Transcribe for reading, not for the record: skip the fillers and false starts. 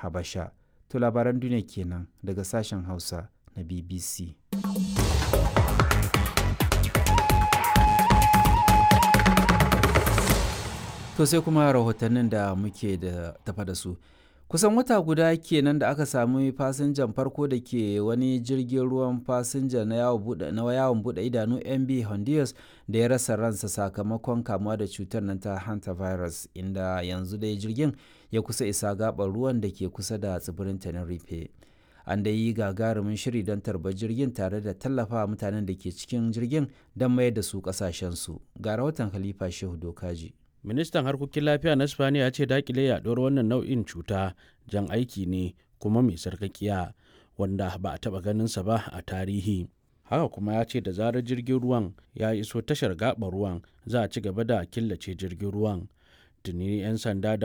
Habasha. To labaran duniya kenan daga sashen Hausa na BBC. To sai kuma rahotannin da muke da tafa da su. Kusan wata guda kenan da aka sami fasinjan farko da ke wani jirgin ruwan fasinja na yawon buɗe idanu MB Honduras da ya rasa ransa sakamakon kamuwa da cutar nan ta hantavirus, inda yanzu dai jirgin ya kusa isa gaɓar ruwan da ke kusa da tsibirin Tenerife. An dai yi gagarumin shiri don tarbar jirgin tare da tallafa mutanen da ke cikin jirgin don mayar da su ƙasashensu. Ga rahoton Khalifa Shehu Dokaji. Ministan harkokin lafiya na Spaniya ya ce dakile yaduwar wannan nau'in cuta jan aiki ne kuma mai sarkakiya wanda ba a taba ganinsa ba a tarihi. Haka kuma ya ce da zarar jirgin ruwan ya iso tashar gaɓar ruwan, za a ci gaba da killace jirgin ruwan. Tuni 'yan sanda da